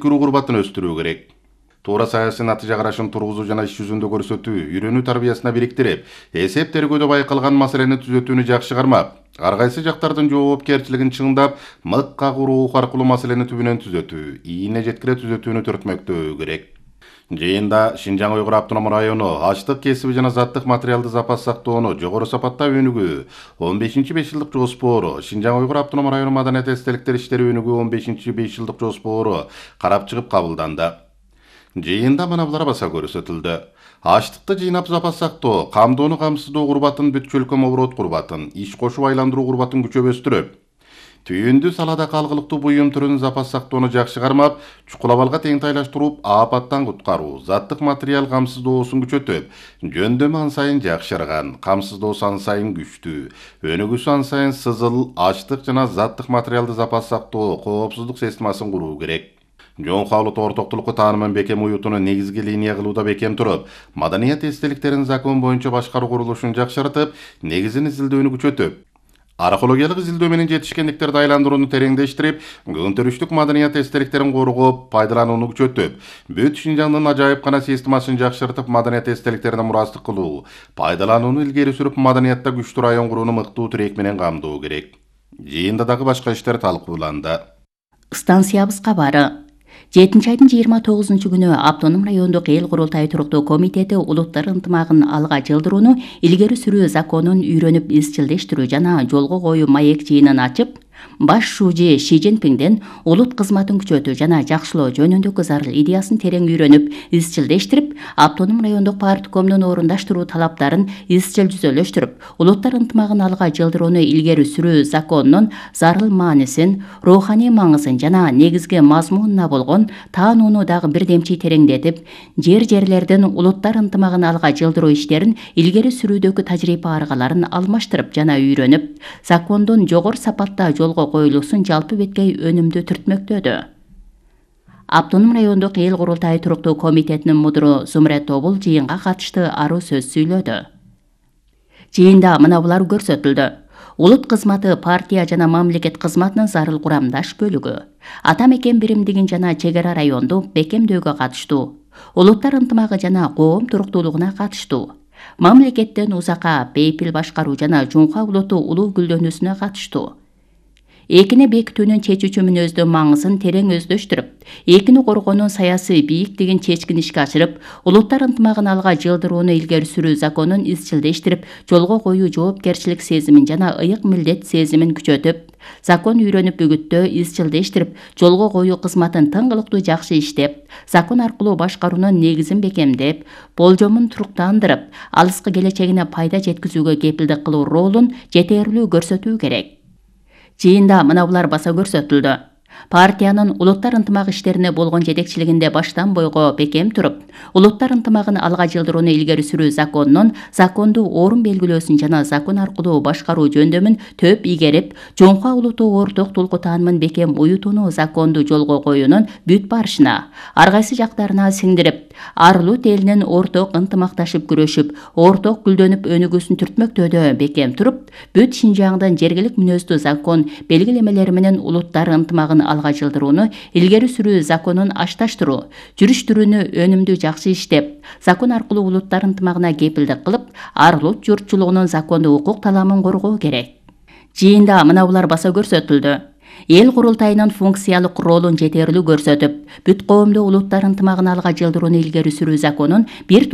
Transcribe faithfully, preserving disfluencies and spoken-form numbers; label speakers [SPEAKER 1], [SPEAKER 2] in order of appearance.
[SPEAKER 1] кирүү курбатын өстүрүү керек. Туура саясий натыйжа карашын тургузуу жана иш жүзүндө көрсөтүү, үйрөнүү тарбиясына бириктирип, эсеп тергөөдө байкалган маселени түзөтүүнү жакшы кармап, ар кайсы жактардын жоопкерчилигин чыңдап, мыкка куруу аркылуу маселени түбүнөн түзөтүү, ийине жеткире түзөтүүнү төртмөктөө керек. Жыйында Шинжаң Уйгур автоном району ачтык кесиби жана заттык материалды запас сактоону жогору сапатта өнүгүү он бешинчи беш жылдык жоспору, Шинжаң Уйгур автоном району маданият эстеликтер иштери өнүгүү он бешинчи беш жылдык жоспору карап чыгып кабылданды. Жыйында мына булар баса көрсөтүлдү. Ачтыкты жыйнап запас сактоо, камдоону камсыздоо курбатын бүт чөлкөм оборот курбатын, иш кошуп айландыруу курбатын күчөп өстүрөп, түйүндү салада калгылыктуу буюм түрүн запас сактоону жакшы кармап, чукул абалга тең тайлаштырып, апаттан куткаруу, заттык материал камсыздоосун күчөтүп, жөндөмү ан сайын жакшырган, камсыздоосу ан сайын күчтүү, өнүгүүсү ан сайын сызыл, ачтык жана заттык материалды запас сактоо коопсуздук системасын куруу керек. Жоңку Улуттук ортоктулукку таанымын бекем уютууну негизги линия кылууда бекем туруп, маданият эстеликтерин закон боюнча башкаруу курулушун жакшыртып, негизин изилдөөнү күчөтүп, археологиялык изилдөө менен жетишкендиктерди айландырууну тереңдештирип, көнтөрүштүк маданият эстеликтерин коргоп, пайдаланууну күчөтүп, бүт Шинжаңдын ажайыпкана системасын жакшыртып, маданият эстеликтерине мурастык кылуу, пайдаланууну илгери сүрүп, маданиятта күчтүү район курууну мыктуу тирек менен камдоо керек. Жыйында дагы башка иштер талкууланды.
[SPEAKER 2] Станциябыз кабары. жетинчи айдын жыйырма тогузунчу күнү Автоном райондук эл курултай туруктуу комитети улуттар ынтымагын алга жылдырууну илгери сүрүү законун үйрөнүп изчилдештирүү жана жолго коюу маек жыйынын ачып, баш шужи Ши Цзиньпиңден улут кызматын күчөтүү жана жакшылоо жөнүндөгү зарыл идеясын терең үйрөнүп, изчилдештирип, Автоном райондук парткомдун орундаштыруу талаптарын изчил жүзөлөштүрүп, улуттар ынтымагын алга жылдырууну илгери сүрүү законунун зарыл маанисин, руханий маңызын жана негизги мазмунуна болгон таанууну дагы бирдемчи тереңдетип, жер-жерлердин улуттар ынтымагын алга жылдыруу иштерин илгери сүрүүдөгү тажрыйба аргаларын алмаштырып жана үйрөнүп, закондун жогору сапатта жолго коюлуусун жалпы беткей өнүмдүү түртмөктөдү. Автоном райондук эл курултай туруктуу комитетинин мудуру Зумрет Тобул жыйынга катышты аруу сөз сүйлөдү. Жыйында мына булар көрсөтүлдү. Улут кызматы партия жана мамлекет кызматынын зарыл курамдаш бөлүгү. Ата мекен биримдигин жана чек ара районду бекемдөөгө катыштуу. Улуттар ынтымагы жана коом туруктуулугуна катыштуу. Мамлекеттен узакка бейпил башкаруу жана жуңка улуту улуу гүлдөнүүсүнө катыштуу. Экини бекитүүнүн чечүүчү мүнөздүн маңызын терең өздөштүрүп, экини коргоонун саясий бийиктигин чечкин ишке ашырып, улуттар ынтымагын алга жылдырууну илгери сүрүү законун изчилдештирип, жолго коюу жоопкерчилик сезимин жана ыйык милдет сезимин күчөтүп, закон үйрөнүп үгүттөө изчилдештирип, жолго коюу кызматын тыңгылыктуу жакшы иштеп, закон аркылуу башкаруунун негизин бекемдеп, болжомун туруктандырып, алыскы келечегине пайда жеткизүүгө кепилдик кылуу ролун жетээрлүү көрсөтүү керек. Жыйында мына булар баса көрсөтүлдү. Партиянын улуттар ынтымак иштерине болгон жетекчилигинде баштан бойго бекем туруп, улуттар ынтымагын алга жылдырууну илгери сүрүү законунун закондуу орун белгилөөсүн жана закон аркылуу башкаруу жөндөмүн төп игерип, жоңка улуттуу орток толку таанымын бекем уютууну законду жолго коюунун бүт барышына, ар кайсы жактарына сиңдирип, ар улут элинин орток ынтымакташып күрөшүп, орток гүлдөнүп өнүгүүсүн түртмөктөөдө бекем туруп, бүт Шинжаңдын жергилик мүнөздүү закон белгилемелери менен улуттар ынтымагын алга жылдырууну илгери сүрүү законун ашташтыруу, жүрүштүрүүнү өнүмдүү жакшы иштеп, закон аркылуу улуттар ынтымагына кепилдик кылып, ар улут журтчулугунун закондуу укук таламын коргоо керек. Жыйында мына булар баса көрсөтүлдү. Эл курултайынын функциялык ролун жетээрлүү көрсөтүп, бүт коомдуу улуттар ынтымагын алга жылдырууну илгери сүрүү законун бир